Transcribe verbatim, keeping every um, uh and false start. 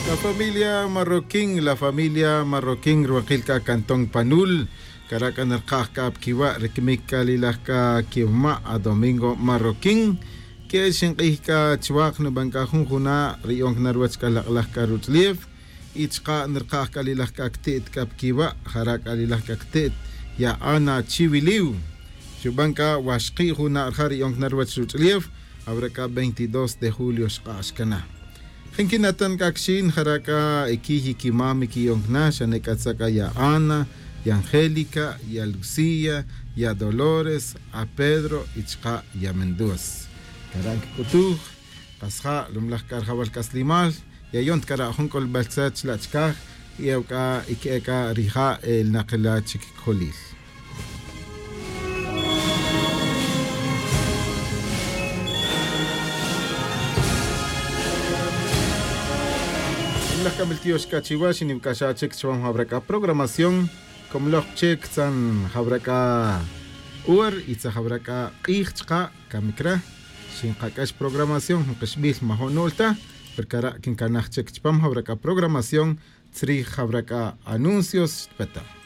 La familia marroquín la familia marroquín ruwakil c'a cantón panul. Cara' c'a nirkaj c'a pa quiwa' ri quimic c'a lilaj c'a quimama' a domingo marroquín. Que'el xink'ij c'a chuwak nuban c'a jun juna' ri yon cana ruwech c'a lak'laj c'a ruch'ulef. Y chaka' nirkaj c'a lilaj c'a cti't c'a pa quiwa' jara' c'a lilaj c'a cti't ya ana chiwiliw. Xuban c'a waxki' juna' rija' ri yon cana ruwech ruch'ulef. Awra c'a veintidós de julio xk'ax cana. Jin quinatan c'a quixin jara' c'a iquiy iquimam iquiyon cana xane c'a tza c'a ya ana, ya angélica, ya lucía, ya dolores, a pedro y chaka' ya mendoz. Cara' quic'utuj. Kasja' lumlaj c'a rajawal c'aslimal. Yayon ta cara' jun c'ulbel tzet chila' chicaj. Y ew c'a iqui'e c'a rija' elnakila chic cojolil. Laj c'amil tiox c'a chiwa xiniwac'axa chic chupam jawra c'a programación. Comloj chic tzan jawra c'a hor y tzan jawra c'a k'ij chaka' camic re. Xinkac'ax programación jun kixbil majo' nu'l ta. Pero cara' quincanaj chic chupam jawra c'a programación tzrij jawra c'a anuncios xtpeta.